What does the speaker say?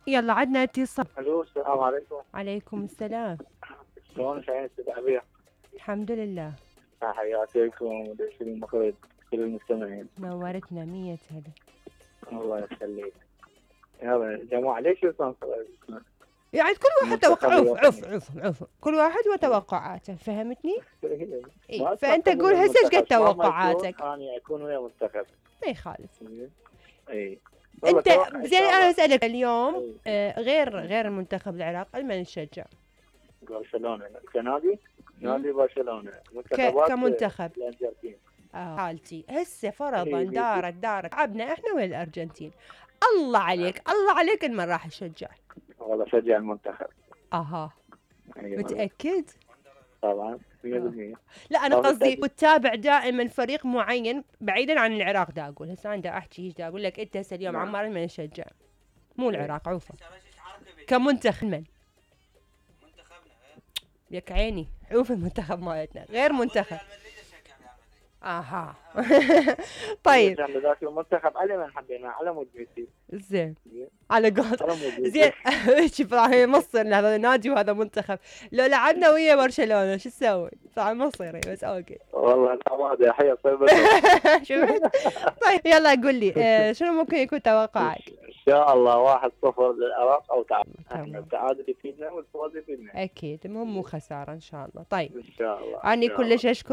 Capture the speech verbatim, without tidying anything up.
يلا عدنا اتصال. الو السلام عليكم. عليكم السلام. شلونك يا استاذ عبير؟ الحمد لله. تحياتكم ودش المخرج كل المستمعين. نورتنا مية هلا. الله يخليك. يلا جماعة ليش تنصر؟ يعني كل واحد توقع عف عف عف عف كل واحد وتوقعاته، فهمتني؟ إيه؟ فانت قول هسه ايش قد توقعاتك؟ انا اكون ويا منتخب. ما يخالف. اي انت زين انا اسالك اليوم آه غير غير المنتخب العراق من تشجع؟ برشلونة كنادي؟ نادي برشلونة كمنتخب الارجنتين. اه حالتي هسه فرضا دارت دارت لعبنا احنا ويا الارجنتين، الله عليك الله عليك من راح اشجع؟ والله شجع المنتخب. اها أيوة. متاكد؟ طبعا مية بالمية. لا انا قصدي وتتابع دائما فريق معين بعيدا عن العراق. دا اقول هسه انا دا احكي دا اقول لك انت هسه اليوم عمار من يشجع؟ مو العراق عوفه كمنتخب من؟ منتخبنا يك عيني عوف المنتخب مالتنا غير منتخب. اها طيب ذاك المنتخب على من حبينا على مود ميسي. زين على قول زين شوف راح مصر هذا نادي وهذا منتخب، لو لعبنا ويا برشلونة شو تسوي؟ صح مصيري بس اوكي. والله لا ما ادري حي طيب. شفت؟ طيب يلا قول لي آه شنو ممكن يكون توقعك؟ ان شاء الله واحد صفر للعراق او تعادل. احنا التعادل يفيدنا والفوز يفيدنا. اكيد المهم مو خسارة ان شاء الله. طيب ان شاء الله. اني كلش اشكر